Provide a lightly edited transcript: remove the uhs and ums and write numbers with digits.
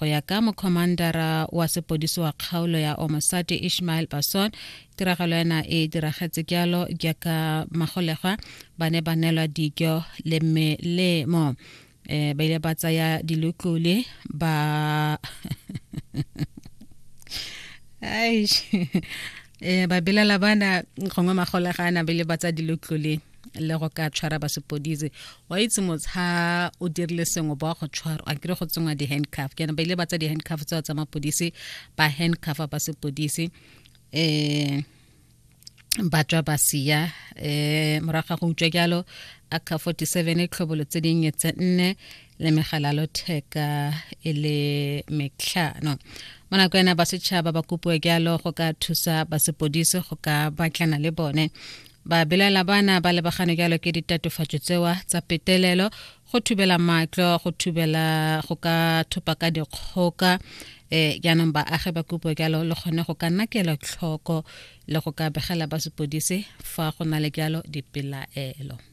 Go ya ka mokhomandara wa sepodisi wa kgaolo ya Omosati Ishmael Basson, tiragalo ena e diragetse jalo jaaka magolegwa ba ne ba neelwa dijo le melemo. Ba ile ba tsaya dilotlole ba Aish. Ba belela bana gongwe magolega a na bele ba tsa dilotlole le go ka tshwara ba sepodisi. Wa itse motsha o dirile sengwe ba go tshwara a kere go tsengwa di-handcuff, ke ba ile ba tsa di-handcuff tseo tsa mapodisi, ba handcuffa ba sepodisi, ba tswa ba sia. Morago ga go utswa jalo AK 47, tlhobolo tse dinnye tse nne le megala lotheka e le metlhano. Mo nako ena ba setšhaba ba kopiwa jalo go ka thusa ba sepodisi go ka batlana le bone. Ba belaela bana ba lebagane jalo ke ditatofatso tsewa tsa petelelo, go thubela matlo, go thubela, go ka thopa ka dikgoka. Jaanong baagi ba kopiwa jalo le gone go ka nna kelotlhoko le go ka begela ba sepodisi fa go na le jalo dipelaelo.